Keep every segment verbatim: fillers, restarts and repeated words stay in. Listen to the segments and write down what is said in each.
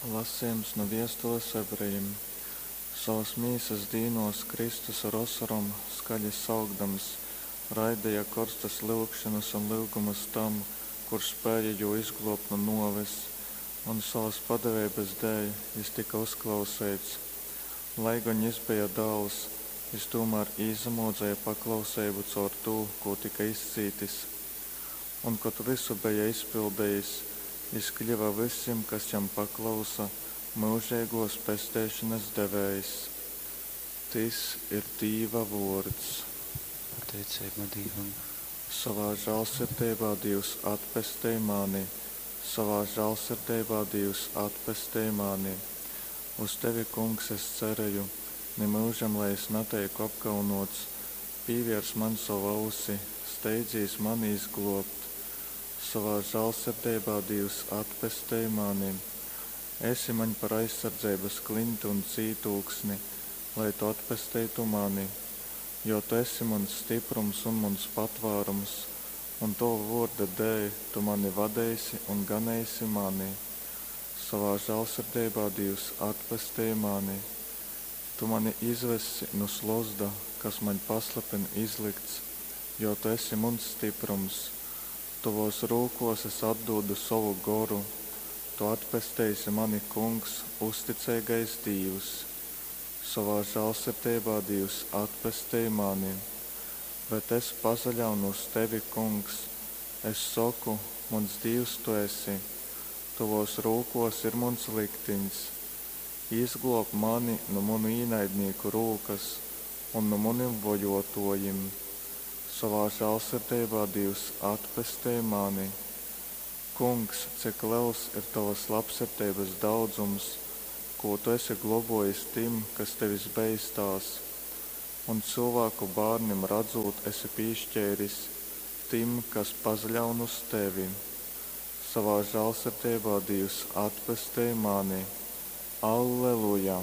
Lasejums nu viestules ebrejim. Sovas mīsas dīnuos Kristus ar osorom, skaļi saukdams, raideja korstas lyugšonas un lyugumus tam, kurs spēja jū izgluobt nu nuoves, un sovas padeveibas dēļ jis tyka uzklauseits. Lai gon jis beja Dāls, jis tūmār īsamuoceja paklauseibu caur tū, kū tyka izcītis. Un, kod vysu beja izpildejis, jis kļyva vysim, kas jam paklausa, myužeigōs pesteišonas devējs. Tys ir Dīva vōrds. Pateiceiba Dīvam. Sovā žālsirdeibā, Dīvs, atpestej mani, sovā žālsirdeibā, Dīvs, atpestej mani. Uz tevi, Kungs, es cereju, nimyužam lai es nateiku apkaunōts. Pīviers maņ sovu ausi, steidzīs mani izglōbt. Sovā žālsirdeibā, Dīvs, atpestej mani. Esi maņ par aizsardzeibas kliņti un cītūksni, lai tu atpesteitu mani. Jo tu esi muns styprums un muns patvārums, un tova vōrda dēļ tu mani vadeisi un ganeisi mani. Sovā žālsirdeibā, Dīvs, atpestej mani. Tu mani izvessi nu slozda, kas maņ paslepeni izlykts, jo tu esi muns styprums. Tovōs rūkōs es atdūdu sovu goru. Tu atpesteisi mani, Kungs, uzticeigais Dīvs. Sovā žālsirdeibā, Dīvs, atpestej mani. Bet es pasaļaunu uz tevi, Kungs, es soku, Muns Dīvs tu esi. Tovōs rūkōs ir muns liktiņs. Izglōb mani nu munu īnaidnīku rūkas un nu munim vojōtōjim. Sovā žālsirdeibā, Dīvs, atpestej mani. Kungs, cik lels ir tovas labsirdeibas daudzums, kū tu esi globōjis tim, kas tevis beistās, un cylvāku bārnim radzūt esi pīškeiris, tim, kas pasaļaun uz tevi. Sovā žālsirdeibā, Dīvs, atpestej mani. Alleluja!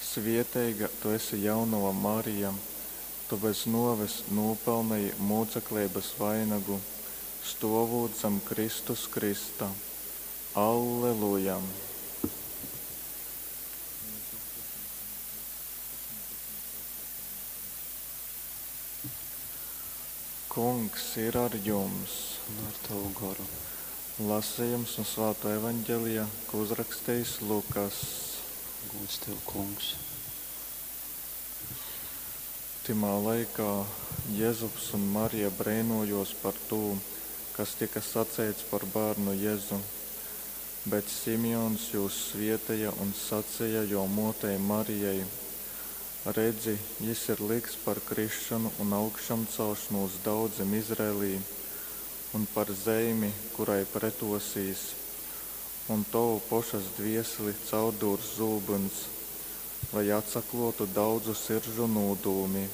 Svieteiga tu esi, Jaunova Marija, tu bez nuoves nūpelneji mūcekleibas vainagu, stuovūt zam Kristus krysta. Alleluja! Kungs ir ar jums! Un ar tavu goru. Lasījums no Svātā Evaņģelija, ko uzrakstījis Lukas. Gūds tev, Kungs. Tymā laikā Jezups un Marija breinōjōs par tū, kas tyka saceits par bārnu Jezu. Bet Simeons jūs svieteja un saceja jō mōtei Marijai: Redzi, jys ir lykts par krisšonu un augšamcelšonūs daudzim Izraelī un par zeimi, kurai pretōsīs. Un tovu pošas dvieseli caurdūrs zūbyns, lai atsaklōtu daudzu siržu nūdūmi.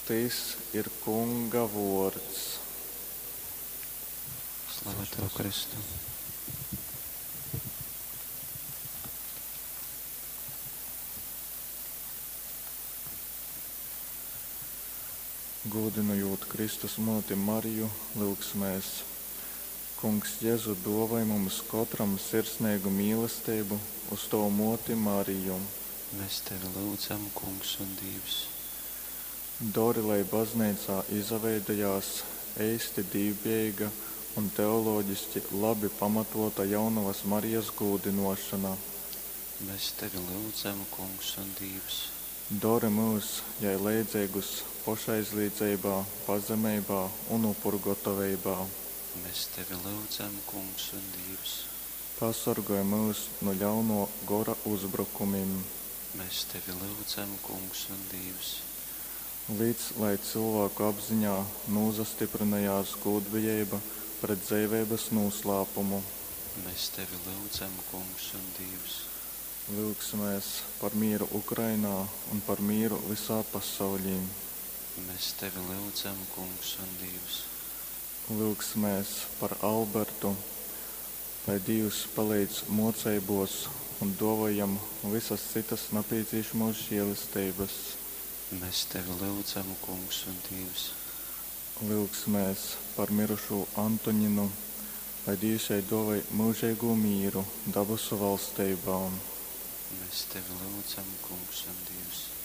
Tys ir Kunga vōrds. Slava tev, Kristu. Gūdynojūt Kristus mōti Mariju, lyugsimēs. Kungs Jezu, dōvoj mums kotram sirsneigu mīlesteibu uz tovu mōti Mariju. Mēs tevi lyudzam, Kungs un Dīvs. Dori, lai Bazneicā izaveidojās eisti dīvbejeiga un teoloģiski labi pamatōta Jaunovas Marijas gūdynōšona. Mēs tevi lyudzam, Kungs un Dīvs. Dori myus jai leidzeigus pošaizlīdzeibā, pazemeibā un upurgotoveibā. Mēs tevi lyudzam, Kungs un Dīvs. Pasorgoj myus nu ļaunō gora uzbrukumim. Mēs tevi lyudzam, Kungs un Dīvs. Lic, lai cylvāku apziņā nūsastyprynojās gūdbejeiba pret dzeiveibas nūslāpumu. Mēs tevi lyudzam, Kungs un Dīvs. Lyugsimēs par mīru Ukrainā un par mīru vysā pasauļī. Mēs tevi lyudzam, Kungs un Dīvs. Lyugsimēs par Albertu, lai Dīvs paleidz mōceibōs un dōvoj jam vysas cytas napīcīšamōs žēlesteibas. Mēs tevi lyudzam, Kungs un Dīvs. Lyugsimēs par mirušū Antoņinu, Lai Dīvs jai duovoj myužeigū mīru dabasu valsteibā. Mēs tevi lyudzam, Kungs un Dīvs.